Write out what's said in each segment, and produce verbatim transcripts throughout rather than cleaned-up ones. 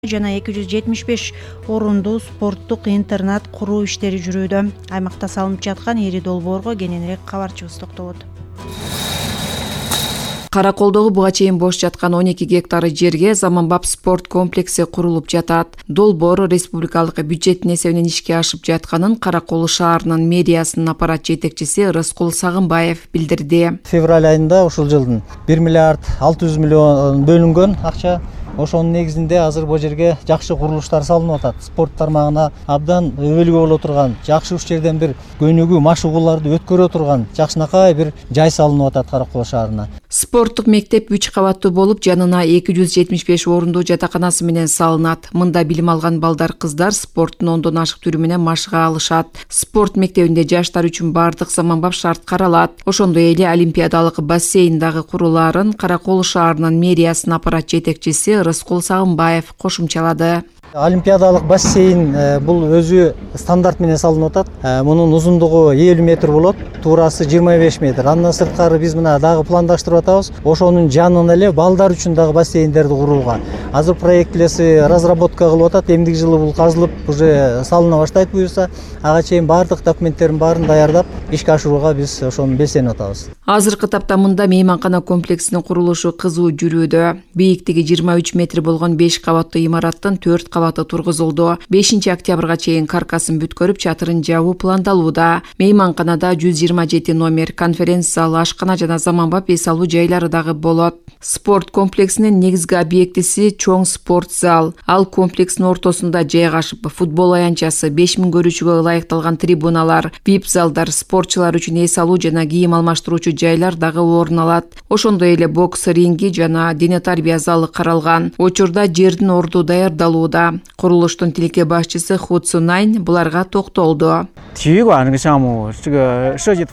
жана эки жүз жетимиш беш орундуу спорттук интернат куруу иштери жүрүүдө. Аймакта салынып жаткан ири долбоорго кененирээк кабарчыбыз токтолот. Караколдогу буга чейин бош жаткан он эки гектар жерге заманбап спорт комплекси курулуп жатат. Долбоор республикалык бюджеттин эсебинен ишке ашып жатканын Каракол шаарынын мэриясынын аппарат жетекчиси Рыскул Сагынбаев билдирди. Февраль айында ушул жылдын бир миллиард алты жүз миллион бөлүнгөн акча. Ошонун негизинде азыр бул жерге жакшы курулуштар салынып атат. Спорт тармагына абдан өбөлгө боло турган, жакшы уш жерден бир көнүгүү машыгууларды өткөрө турган жакшынакай бир жай салынып атат Каракол шаарына. Спорттук мектеп үч кабаттуу болуп, жанына эки жүз жетимиш беш орундуу жатаканасы менен салынат. Мында билим алган балдар, кыздар спорттун ондон ашык түрү менен машыга алышат. Спорт мектебинде жаштар үчүн бардык заманбап шарт каралат. Ошондой эле олимпиадалык бассейн дагы курулаарын Каракол шаарынын мэриясынын аппарат жетекчиси Рыскул Сагынбаев кошумчалады. Олимпиадалык бассейн бул өзү стандарт менен салынып атат. Мунун узундугу элүү метр болот, туурасы жыйырма беш метр. Андан сырткары биз мына дагы пландаштырып атабыз. Ошонун жанына эле балдар үчүн дагы бассейндерди курууга. Азыр проектлеси разработка кылып атат. Эмдиги жылы бул казылып, уже салына баштайт буюрса. Ага чейин бардык документтерин баарын даярдап, ишке ашырууга биз ошону белсенип атабыз. Азыркы тапта мында мейманкана комплексинин курулушу кызуу жүрүүдө. Бийиктиги жыйырма үч метр болгон беш кабаттуу имараттын төрт кабаты тургузулду. бешинчи октябрга чейин каркасын бүткөрүп, чатырын жабуу пландалууда. Мейманканада жүз жыйырма жети номер, конференция зал, ашкана жана заманбап эс алуу жайлары дагы болот. Спорт комплексинин негизги объектиси чоң спорт зал. Ал комплекстин ортосунда жайгашып, футбол аянтчасы, беш миң көрүүчүгө ылайыкталган трибуналар, вип залдар, спортчулар үчүн эс алуу жана кийим алмаштыруучу жайлар дагы орун алат. Ошондой эле бокс ринги жана дене тарбия залы каралган. Учурда жердин орду даярдалууда. Курулуштун тилке башчысы Хуцунайн буларга токтолду.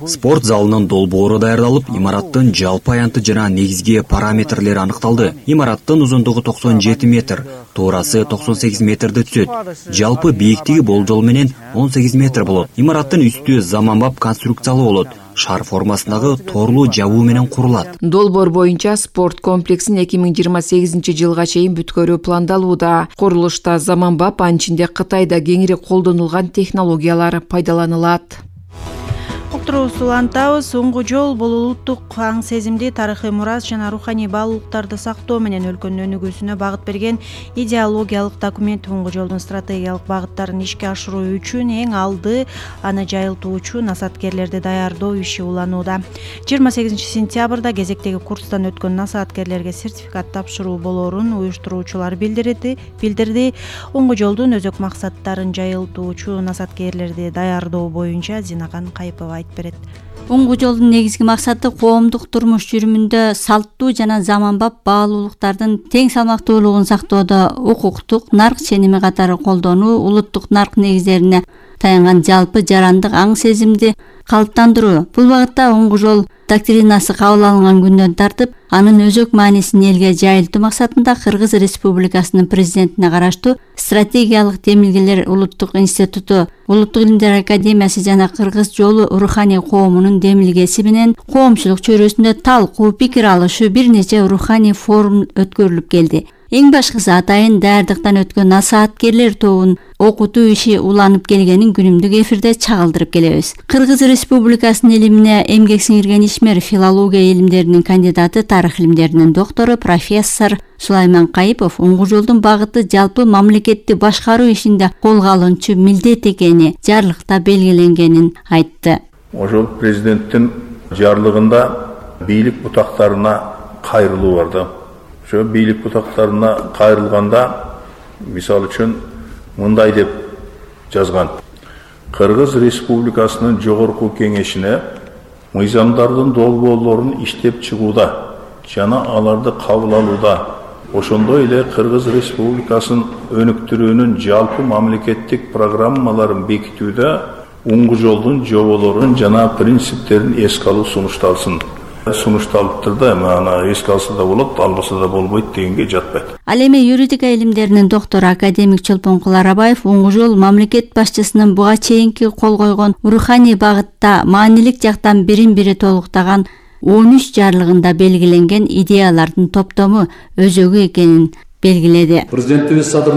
Спорт залынын долбоору даярдалып, имараттын жалпы аянты жана негизги параметрлери аныкталды. Имараттын узундугу токсон жети метр, туурасы токсон сегиз метрди түзөт. Жалпы бийиктиги болжол менен он сегиз метр болот. Имараттын үстү заманбап конструкциялуу болот. Шар формасындагы торлуу жабуу менен курулат. Долбоор боюнча спорт комплексин эки миң жыйырма сегизинчи жылга чейин бүткөрүү пландалууда. Курулушта заманбап, анын ичинде Кытайда кеңири колдонулган технологиялар пайдаланылат. Уктуруубузду улантабыз. Соңку жол бул улуттук аң сезимди, тарыхый мурас жана руханий баалуулуктарды сактоо менен өлкөнүн өнүгүүсүнө багыт берген идеологиялык документ. Соңку жолдун стратегиялык багыттарын ишке ашыруу үчүн эң алды аны жайылтуучу насааткерлерди даярдоо иши уланууда. жыйырма сегизинчи сентябрда кезектеги курстан өткөн насааткерлерге сертификат тапшыруу болоорун уюштуруучулар билдирди. билдирди. Оңку жолдун өзөк максаттарын жайылтуучу насааткерлерди даярдоо боюнча Зинаган Кайыпова айтып берет. Оңку жолдун негизги максаты коомдук турмуш жүрүмүндө салттуу жана заманбап баалуулуктардын тең салмактуулугун сактоодо укуктук, нарк ченеми катары колдонуу, улуттук нарк негиздерине таянган жалпы жарандык аң сезимди калыптандыруу. Бул багытта оңку жол доктринасы кабыл алынган күндөн тартып, анын өзөк маанисин элге жайылтуу максатында Кыргыз Республикасынын президентине караштуу стратегиялык демилгелер улуттук институту, Улуттук илимдер академиясы жана Кыргыз жолу руханий коомунун демилгеси менен коомчулук чөйрөсүндө талкуу, пикир алышуу, бир нече руханий форум өткөрүлүп келди. Эң башкысы атайын даярдыктан өткөн насааткерлер тобун окутуу иши уланып келгенин күнүмдүк эфирде чагылдырып келебиз. Кыргыз Республикасынын илимине эмгек сиңирген ишмер, филология илимдеринин кандидаты, тарых илимдеринин доктору, профессор Сулайман Кайыпов оңку жолдун багыты жалпы мамлекетти башкаруу ишинде колго алынчу милдет экени жарлыкта белгиленгенин айтты. Ошол президенттин жарлыгында бийлик бутактарына кайрылуу бар да. Ошо бийлик бутактарына кайрылганда, мисал үчүн мындай деп жазган: Кыргыз Республикасынын жогорку кеңешине мыйзамдардын долбоорлорун иштеп чыгууда жана аларды кабыл алууда, ошондой эле Кыргыз Республикасын өнүктүрүүнүн жалпы мамлекеттик программаларын бекитүүдө оңку жолдун жоболорун жана принциптерин эске алуу сунушталсын. Сунушталыптыр да, аны эске алса да болот, албаса да болбойт дегенге жатпайт. Ал эми юридика илимдеринин доктору академик Чолпонкул Арабаев оңку жол мамлекет башчысынын буга чейинки кол койгон руханий багытта маанилик жактан бирин-бири толуктаган он үч жарлыгында белгиленген идеялардын топтому өзөгү экенин белгиледи. Президентибиз Садыр